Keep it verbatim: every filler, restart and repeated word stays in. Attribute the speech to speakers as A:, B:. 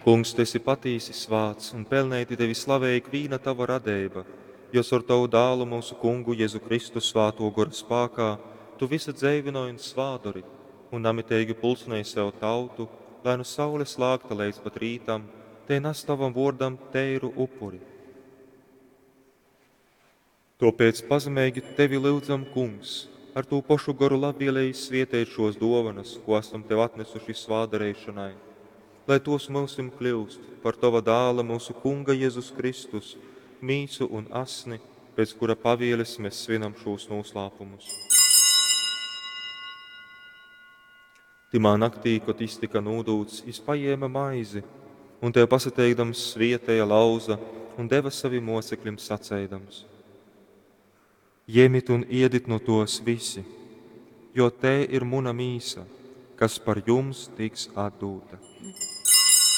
A: Kungs, tu esi patīsi svāts, un pelneiti tevi slavej ikvīna tava radeiba, jo caur tovu Dālu, myusu Kungu Jezu Kristu, Svātō Gora spākā tu vysu dzeivynoj un svātdori, un namiteigi pulcynej sev tautu, lai nu saules lākta leidz pat rītam, tei nas tovam vōrdam teiru upuri. Tōpēc pazemeigi tevi lyudzam, Kungs, ar tū pošu Goru labvieleigi svieteit šōs dōvonas, kū asam tev atnasuši svātdareišonai, lai tōs myusim kļyust par tova Dāla, myusu Kunga Jezus Kristus, mīsu un asni, pēc kura pavieles mēs svinam šūs nūslāpumus. Tymā naktī, kod jis tyka nūdūts, jis pajēma maizi un tev pasateikdams svieteja, lauza un deva savim mocekļim saceidams: Jemit un iedit nu tōs visi, jo tei ir muna mīsa, kas par jums tiks atdūta.